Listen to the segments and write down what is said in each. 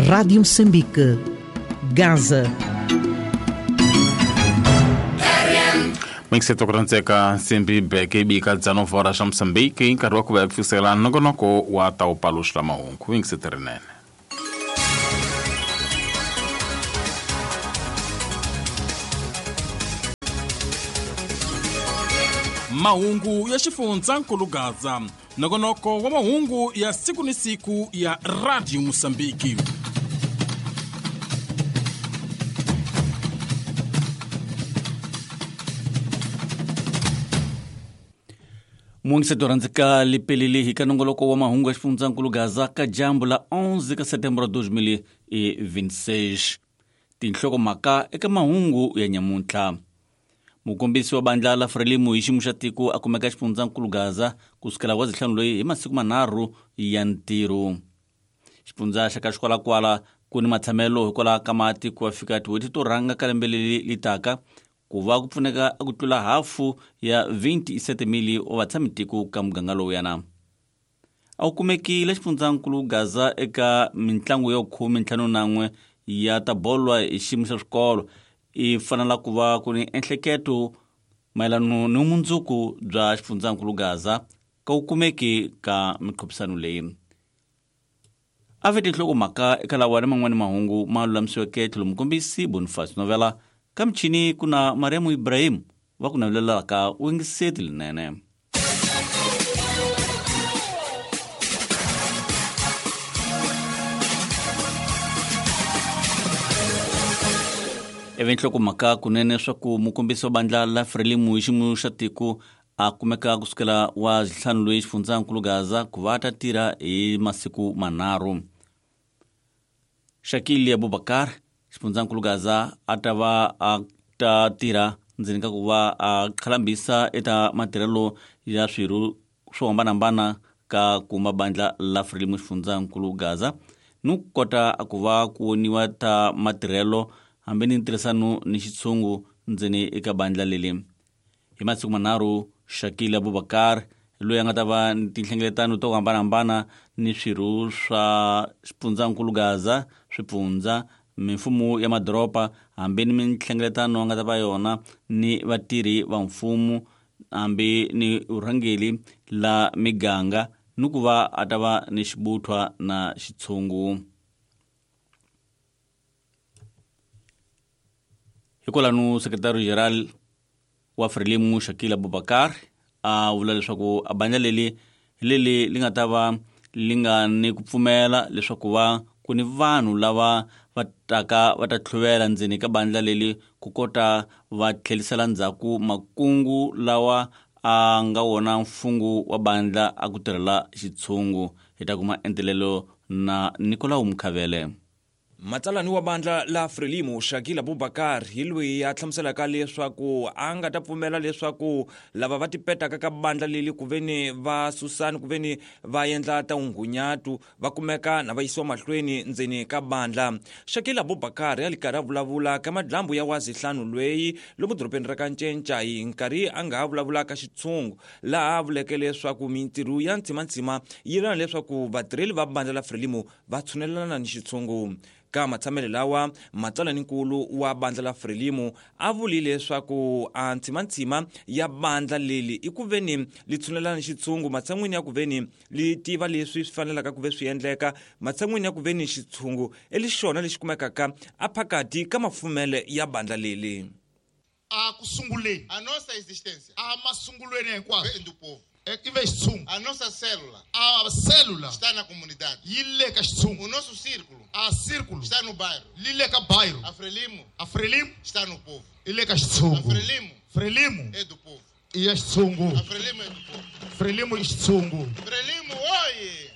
Rádio Moçambique, Gaza. Mixeto kurantseka nsimbi beke ibika dzano hora xa Moçambique nkarhi wa ku va fikisela nongonoko wa ta wu paluxa mahungu yingisete rinene. Mahungu ya xifundzankulu Gaza, nongonoko wa mahungu ya siku ni siku ya Radio Mosambiki. Muingiseto rhandzeka lipelele hi ka nongoloko wa mahungu ya xifundzankulu Gaza ka dyambu la 11 ka setembro 2026. Tinhlokomhaka eka mahungu ya nyamuntlha. Mukombisi wa bandla la Frelimo hi xiyimo xa tiko a kumeka xifundzankulu Gaza kusukela wa zihlanu loyi hi masiku manharhu ya ntirho. Xifundza xa ka xikwalakwala ku ni matshamelo hikwalaho ka mati ku va fika tin'hweti to rhanga ka lembe leri li taka ku va ku pfuneka ku tlula hafu ya 27,000 wa vatshamitiko ka muganga lowuyana. A wu kumekile xifundzankulu Gaza eka mintlangu ya 51 ya ta bolo hi xiyimo xa swikolo. I fanela ku va ku ni enhleketo mayelana ni vumundzuku bya xifundzankulu Gaza ka wu kumeki ka mikhuphisano leyi. A ve tinhlokomhaka eka lawa ni man'wani mahungu ma lulamisiweke tlhelo mukombisi Boniface Novela ka michini ku na Mariam Ibrahim va ku navelelaka u yingiseti linene. Ivi nhlokomhaka kunene swa ku mukombisi wa bandla la Frelimo hi xiyimo xa tiko a kumeka kusukela wa ntlhanu loyi xifundzankulu Gaza ku va ta tirha hi masiku manharhu. Shakili Abubakar xifundzankulu Gaza a ta va a ta tirha ndzeni ka ku va a khalambisa eka matirhelo ya swirho swo hambanahambana ka kuma bandla la Frelimo xifundzankulu Gaza ni ku kota ku va ku voniwa ta matirhelo hambi ni ntirhisano ni xitshungu ndzeni eka bandla leli. Hi masiku manharhu Shakil Abubakar loyi a nga ta va ni tinhlengeletano to hambanahambana ni swirho swa xifundzankulu Gaza, swipfundza, mimfumo ya madoroba hambi ni minhlengeletano a nga ta va yona ni vatirhi va mfumo hambi ni vurhangeri la miganga ni ku va a ta va ni xibuthwa na xitshungu. Hikwalano sekretari general wa Frelimo Shakil Abubakar a vula leswaku a bandla leli leli li nga ta va li nga ni ku pfumela leswaku va ku ni vanhu lava va taka va ta tlhuvela ndzeni ka bandla leli ku kota va tlhelisela ndzhaku makungu lawa a nga wona mfungu wa bandla a ku tirhela xitshungu. Hi ta kuma entelelo na Nicolau Mkhavele. Matsalani wa bandla la Frelimo Shakil Abubakar hi loyi a hlamuselaka leswaku a nga ta pfumela leswaku lava va tipetaka ka bandla leli ku veni va susani ku veni va endla ta ungunyatu va kumeka na va yisiwa mahlweni ndzeni ka bandla. Shakil Abubakar a li karhi a vulavula ka madlambu ya wazihlanu lweyi lomu dorobeni ra ka Ncenca hi nkarhi a nga ha vulavula ka xitshungu laha a vuleke leswaku mintirho ya ntsimantsima yi lana leswaku vatirheli va bandla la Frelimo va tshunelelana ni xitshungu. Ka matshamelo lawa matsalaninkulu wa bandla la Frelimo a vuli leswaku a ntsimantsima ya bandla leli i ku veni li tshunelana ni xitshungu matshan'wini ya ku veni li tiva leswi swi fanelaka ku ve swi endleka matshan'wini ya ku veni xitshungu i lexona lexi kumekaka a phakati ka mafumele ya bandla leli. A ku sunguleni. A nossa existência A masungulweni hinkwaswo. vem do povo. I ve xitshungu. A nossa célula A célula está na comunidade. yi le ka xitshungu. O nosso círculo A círculo está no bairro. li le ka bairro. A Frelimo A Frelimo está no povo. i le ka A xitshungu. Frelimo Frelimo é do povo. i ya xitshungu. A Frelimo é do povo. Frelimo i xitshungu. Frelimo, oye!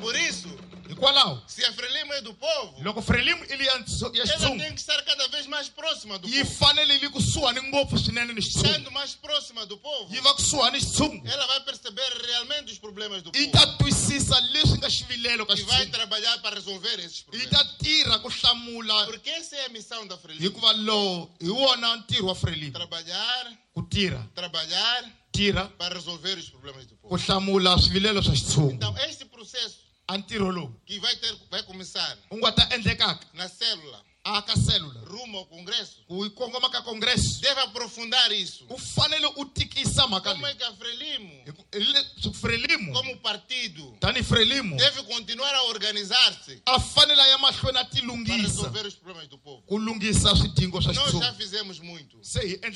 Por isso, Hikwalaho se a Frelimo é do povo, loko Frelimo i li ya ya ela xitshungu tem que estar cada vez mais próxima do yi povo. fanele li kusuhani ngopfu swinene ni xitshungu. Estando mais próxima do povo, Yi va kusuhani xitshungu. ela vai perceber realmente os problemas do Yi povo ta twisisa leswi nga xivilelo ka e vai xitshungu. trabalhar para resolver esses Yi problemas. ta tirha ku hlamula Porque essa é a missão da Frelimo. hikuva lowu hi wona ntirho wa Frelimo. Trabalhar, Ku tirha, trabalhar tirha para resolver os problemas do ku povo. hlamula swivilelo swa xitshungu. Então, este processo A ntirho lowu que vai começar wu nga ta endlekaka na célula a ka célula rumo ao Congresso ku yi kongoma ka congresso deve aprofundar isso. U fanele u tikisa mhaka Como é leyi que a Frelimo, Frelimo como partido, tani Frelimo deve continuar a organizar-se a fanele a ya mahlweni a para tilunghisa resolver os problemas do povo. ku lunghisa swidingo swa Nós já xitshungu fizemos muito. Se hi endle